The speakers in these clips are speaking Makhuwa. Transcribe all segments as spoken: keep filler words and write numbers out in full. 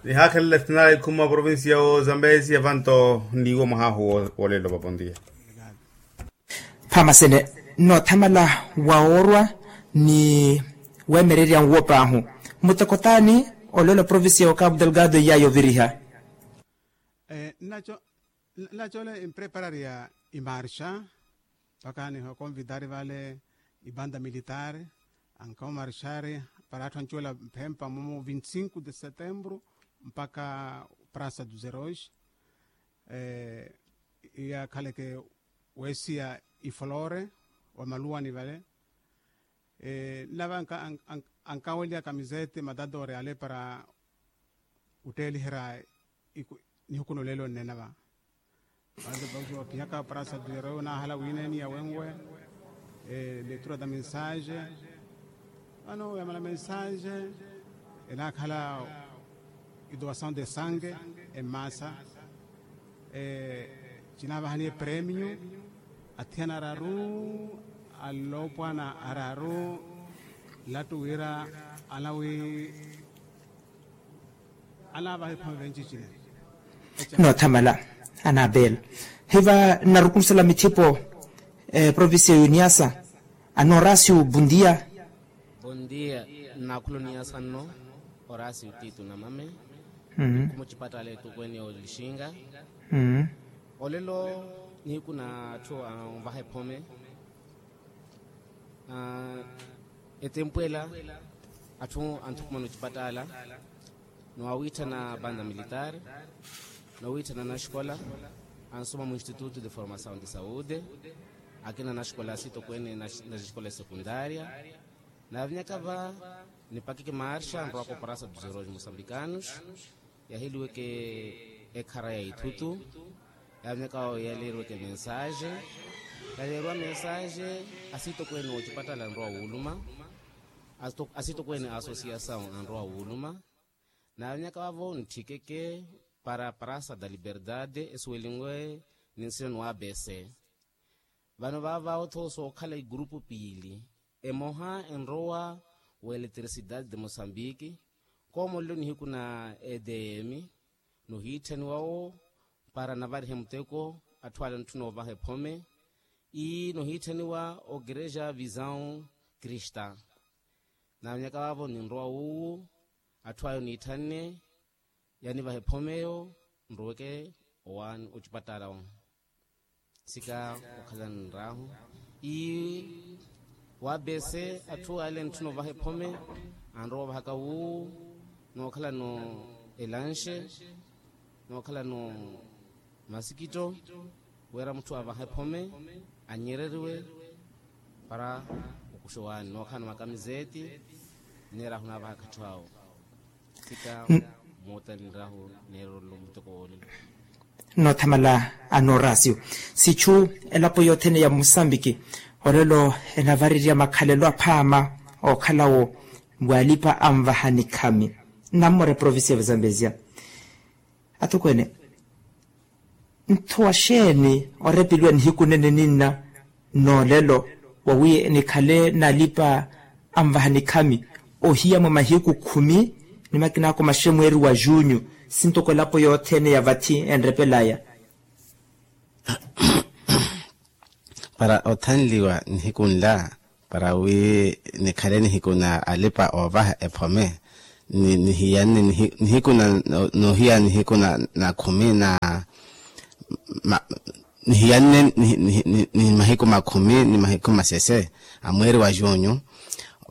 Nihaakhelela sinaari khuma provincia wo zambezi avanto n'iwo mwahahu wolelo papontiya. Phamasene noothamala wawoorwa ni weemererya nwo paahu. Muteko taani olelo provincia wa cabo delgado iyaya oviriha? Nnaco nnaco ole empreparariya imarxa mpaka nihokonvitari vale ibanda militari ankawo marxari para atthu ancuwela mphempa mumu vinti cinco de setembro mpaka prasa dos herois. Iyakhaleke weesiya ifoloore wa maluwani vale. Nnava ankaweliya kamizete matadore ale para otteeliherya nihuku nolelo nnena va. Vale vauxi opihaka prasa duro nahala wiineni ya wenwe. Letura da mensage vano yamala mensage enakhala idoação de sangue emmasa. Cinavahaniye premio athiyana araru alopwana araru. Lattu wira anawi anavaha ephome venci cine. Noothamala anabela hiva nnarukulusela mithipo provincia ya uniasa. Anorasio bundia. Bundia. Nnakhula uniasa nno orasio titu namame. Kumucipattala etukweni olixinga olelo nihiku na atthu anvaha ephome. Etempu ela atthu anthukumana ocipattala ni wawiitthana banda militaari ni wawiitthana naxikola ansoma mu instituto de formasaw de saude. Akina naxikola asitokweene naxikola esekundaria. Naavinyaka va nipakeke marxa nrowaka oparasa dos herois mosambicanos. Yaheliweke ekhara ya ithutu. Yaavinyaka vawo yaleeriweke mensaxe. Yaleeriwa mensaxe asitokweene woocipattala anrowa wuuluma. Asitokweene a asosiasaw anrowa wuuluma. Naavinyaka vavo ntthikeke para prasa da liberdade esuwelinwe ni nsina ni wabese. Vano vaavo tho sookhala igurupu piili emoha enrowa wa eletricidade de mosambiki. Koomolelo nihiku na edm nohiitthaniwa wo para navarihe muteko atthu ale ntthuna ovaha ephome. Ii nohiitthaniwa okerexa visão krista. Naanyaka vaavo ninrowa wuuwu atthu ayo niitthanne yanivaha ephome eyo nroweke owaani ocipattala. Sika okhala nrahu ii wabese atthu ale ntthuna ovaha ephome anrowa ovahaka wuuwu nookhalano elanxe nookhalano masikitto wira mutthu avaha ephome anyereriwe para okuxa owaani nookhalano makamizeeti. Nneerahu naavahaka atthu awo sika mootani nrahu neererelo muteko woolelo. Noothamala anorasio sichu elapo yothene ya musambiki olelo enavarerya makhalelo aphaama okhalawo walipa anvaha nikhami. Nnammore provincia ya vazambezia atokweene nthowa xeeni orepeliwa nihiku nene ninna noolelo wawi nikhale nalipa anvaha nikhami ohiya mwa mahiku khumi ni makina ako maxe mweeri wa junyu sintoko elapo yothene ya vathi enrepelaya. Para othanliwa nihiku nla para wi nikhale nihiku na alipa oovaha ephome nihiyanne nihiku na noohiya nihiku na khumi na nihiyanne ni mahiku makhumi ni mahiku masese a mweeri wa junyu.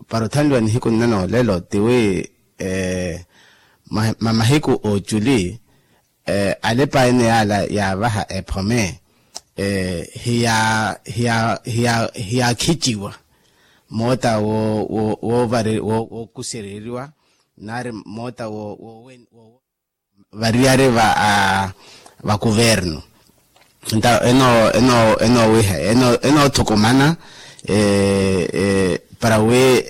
Para othanliwa nihiku nna noolelo tiwi mamahiku ooculi alipa ene yaala yaavaha ephome hiya hiya hiya hiyakhiciwa moota wookusereriwa nari moota woovariyari va kuvernu. Nta enoowiha enoothukumana para wi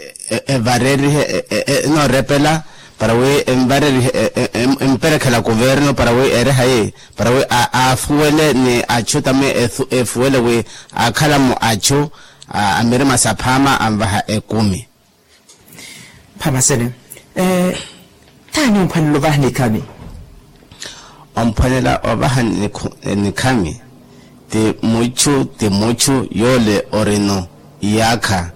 evarerihe enoorepela para wi envarerihe emperekhela kuvernu para wi eere hayi para wi aafuwele ni achu tame efuwele wi aakhala mu achu a mirima saphaama anvaha ekumi. Phamasene Taani omphwanela ovaha nikhami? Omphwanela ovaha nikhami ti muchu ti muchu yoole orino iyaakha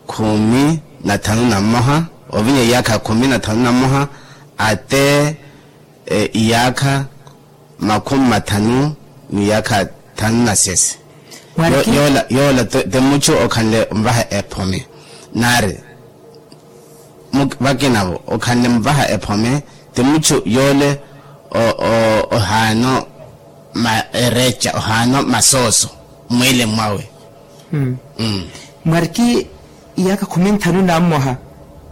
khumi na thanu na mmoha, ovinya iyaakha khumi na thanu na mmoha ate iyaakha makhumi mathanu ni iyaakha thanu na sesi. Yoola ti muchu okhanle mvaha ephome naari vakinavo okhanle mvaha ephome ti muchu yoole ohaano ereca ohaano masooso mwiili mwawe. Mwariki iyaakha khumi nthanu na mmoha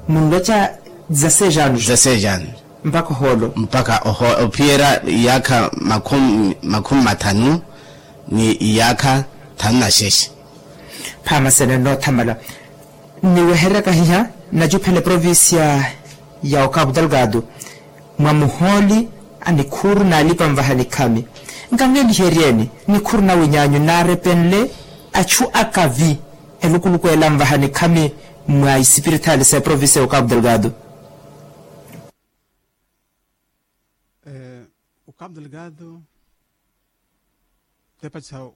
munloca za seis anos. Mpaka ohoolo mpaka ophiyerya iyaakha makhumi mathanu ni iyaakha thanu na xexe. Phaama sene nnoothamala nniweheryaka hiha nnacuphela eprovincia ya okapu delgado mwa muhooli a nikhuru n'alipa nvaha nikhami. Nkanweliheryeeni nikhuru na winyaanyu naarepenle achu akavi elukuluku ela nvaha nikhami mwa isipirithali sa eprovincia ya okapu delgado. Okapu delgado tepatisa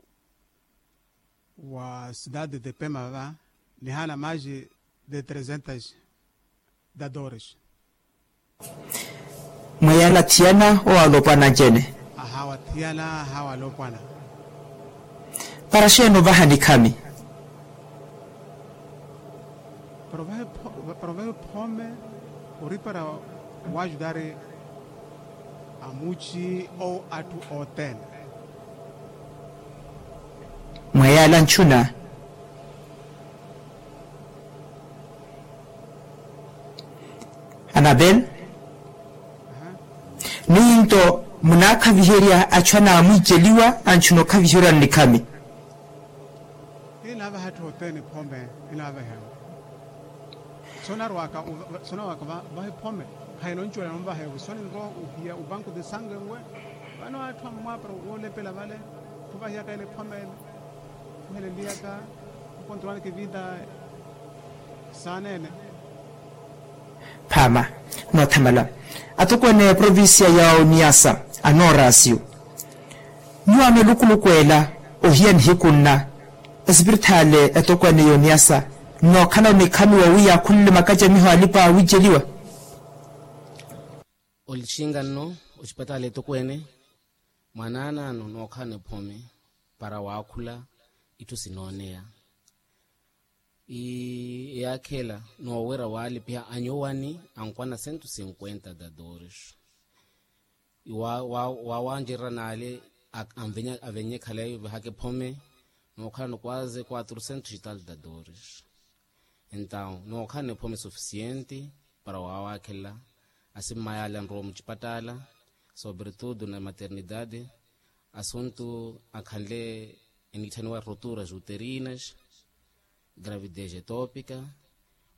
wa cidade de pema va nihaana maji de trezentas dadores. Mwa yaala thiyana owaala opwana ncene. Ahawa thiyana ahawa alopwana. Para xeeni ovaha nikhami? Para ovaha ephome ori para waajudari amuci ou atthu othene. Mwa yaala ncuna. Anabel, ninto munaakhaviherya achu anaamwiiceliwa anchuna okhaviherya nnikhami? Ila avaha atthu othene ephome ila avaha ewe. Sonarwaka sonarwaka vaha ephome. Khayina oncuwela nonvaha ewe soni nrowa ohiya obanku de sange nwe. Vano atthu amwapara woolepela vale khuvahiyaka ela ephome ela. Khuheleliyaka khukontrolanaka evida. Saaneene. Phaama noothamala atokweene a eprovincia ya oniasa anoorasio. Nyuwaano elukuluku ela ohiya nihiku nna esipirithale etokweene ya oniasa nnookhala onikhami wawi yaakhulile makacamiho alipa awiiceliwa. Olixinga nno ocipatala etokweene mwanaanaano nookhala niphome para waakhula itthu sinooneya. Ii eyaakhela noowerya waalipiha anyuwani ankwana sentu sinkwenta dadores. Waawancererya naale avenye khale vahaka ephome nookhala nokwaze quatro sentos e tal dadores. Entaw nookhala nephome sufisienti para waawaakhelela. Asimmayale anrowa mucipattaala sobretudo na maternidade asuntu akhanle eniitthaniwa roturas uterinas gravidez etopika.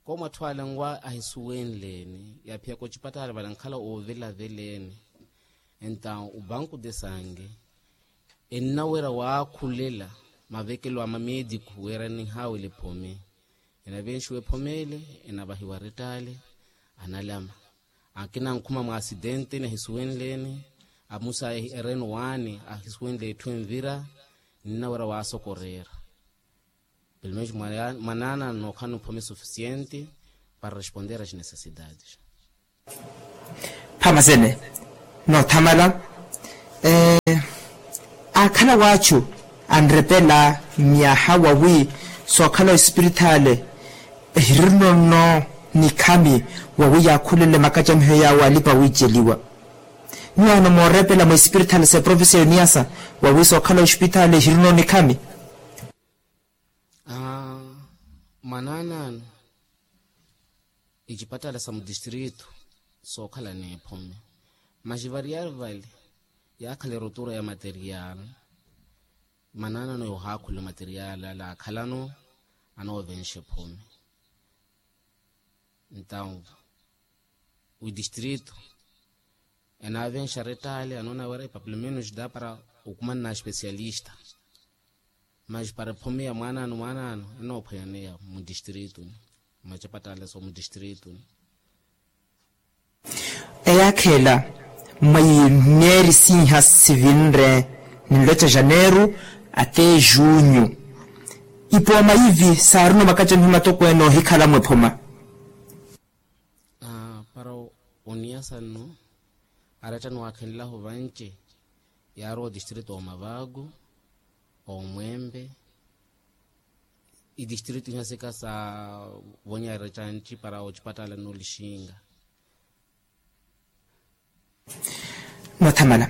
Koomatthu ale nwa ahisuwenleni yaaphiyaka ocipattaala vale ankhala oovelaveleeni. Entaw obanku de sange ennawerya waakhulela mavekelo a mamediku wira enihaawela ephome. Enavenxiwa ephome ele enavahiwa rettaale analama akina ankhuma mwa asidente nahisuwenleni. Amusa ereno waani ahisuwenle etthu envira. Ninnawerya waasokoreera pelomenxi mwanaana nookhala nuphome sufisienti para responder as necessidades. Phamasene noothamala. Aakhala waachu anrepela myaha wawi sookhala ospirithale ehirino nno nikhami wawi yaakhulele makacamiho yaawo alipa wiiceliwa. Nyuwaano moorepela mwa espirithale sa eprovincia ya oniasa wawi sookhala ospitale ehirino nikhami. Mwananano icipatala sa mudistrito sookhala neephome. Masi variyari vale yaakhala erotura ya material. Mwananano yoohaakhula material ale akhalano anoovenxa ephome. Entaw widistrito enaavenxa rettaale anoona wira epapelo menos da para okumanna aspecialista. Mas para ephome ya mwaanaano mwaanaano enoophwanyaneya mudistrito ni machapatale so mudistrito ni. Eyaakha ela mwa imyeeri siiha sivinre, ninloca janeiro ate junho. Ipooma ivi saarino makacamiho matokweene ohikhala mwephoma. Para oniyasa nno, arattani waakhenlahu vanci yaarowa otistritu omavaku, omwempe, itistritu iha sika sa vonyarya canci para ocipatala n'olixinga. Nothamala.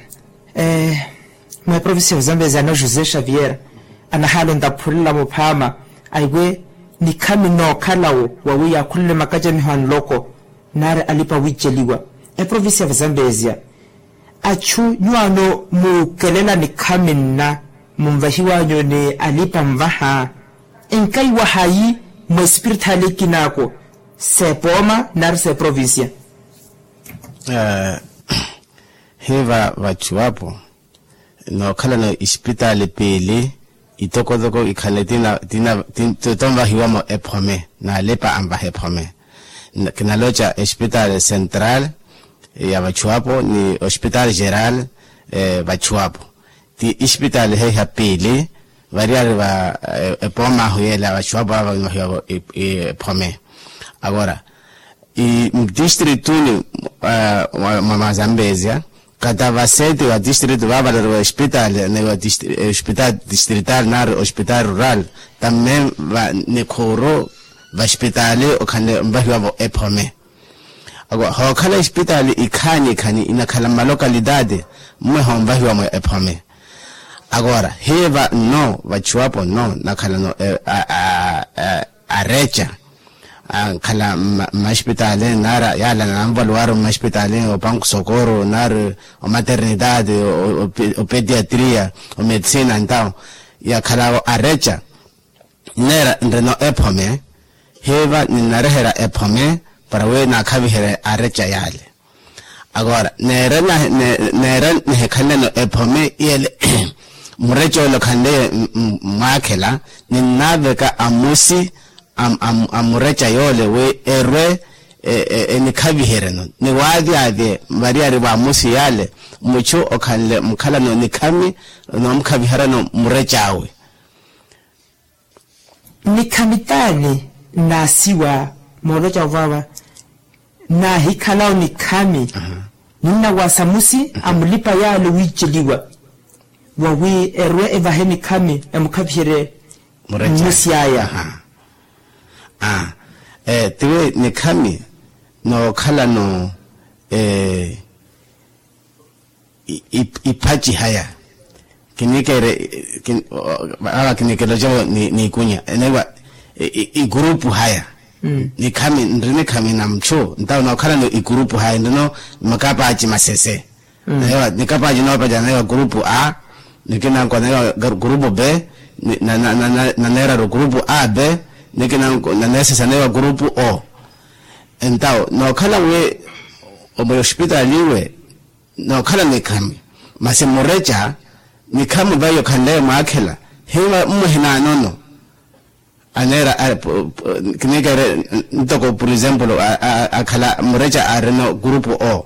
Mwa provincia ya zambezia no josé xavier anahaala ontaphulelamo phaama, aiwe nikhami nookhala-wo wawi yaakhulele makacamiho a nloko nari alipa awiiceliwa. Eprovincia ya zambezia, achu nyuwaano muukelela nikhami nna munvahiwanyu ni alipa anvaha, enkaiwa hayi mwa espiritaali ekinaako, s'epooma nari s'eprovincia? Hiiva vachuwapo nookhalano isipitaali piili, itokotoko ikhale tina tina tonvahiwamo ephome n'alipa anvaha ephome. Kinaloca espitaali central ya vachuwapo ni espitaali geral vachuwapo, ti isipitaali heiha piili variyari va epooma ahu yeela vachuwapo ava vanvahiwavo ephome. Agora mdistritu ni mwa mazambezia, katavaseti wa distritu vavaleriwa espitaali ni wa espitaali distrital nari espitaali rural, tamme nikhuuru va espitaali okhanle onvahiwavo ephome. Hookhala espitaali ikhaani ikhaani inakhala mmalokalitati, mmwe hoonvahiwamo ephome. Agora hiiva nno vachuwapo nno nakhalano areca ankhala mmaspitaali nara yaala nanvaluwaru mmaspitaali opanku sokoru nari omaternitati, opediatria, omedisina entawo yakhalavo areca. Neera nrino ephome hiiva ninnareherya ephome para wi naakhaviherye areca yaale. Agora neera nihikhaleleno ephome iyele mureca ole okhanleye mmwaakhela, ninnaaveka amusi a mureca yoole wi erwe enikhaviheryeno ni waavyavye variyari v'amusi yaale muchu okhanle mukhalano nikhami noomukhaviheryano murec'awe. Nikhami t'ani nnaasiwa mooloca ovava naahikhalawo nikhami ninnawaasa musi a mulipa yaale wiiceliwa wawi erwe evahe nikhami emukhaviherye mmusi aya. Tiwi nikhami nookhalano iphaci haya kiniikere awa kiniikere ocevo n'ikunya eneewa ikurupu haya. Nikhami nri nikhami na muchu ntawo nookhalano ikurupu haya nrino makapaaci masese. Naneewa nikapaaci noopacana naneewa kurupu a nikinanko naneewa kurupu b naneeraru kurupu a b nikinanko naneesesa naneewa kurupu o. Entawo nookhala wi omo yospitaali iwe nookhala nikhami masi mureca nikhami vaiyo khanleyo mwaakhela hiiva mmwe hinaanono. Aneera kiniikere ntoko por exemplo akhala mureca aarino kurupu o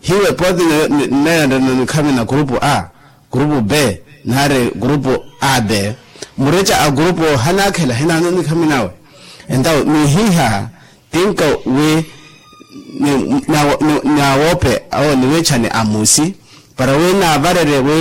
hiiwe pooti nneera nrino nikhami na kurupu a kurupu b nari kurupu a b. Mureca a kurupu o hanaakhela hinaanono nikhami nawe. Entawo nihiiha tinka wi naawoope awo niwiichani amusi para wi naavarerye wi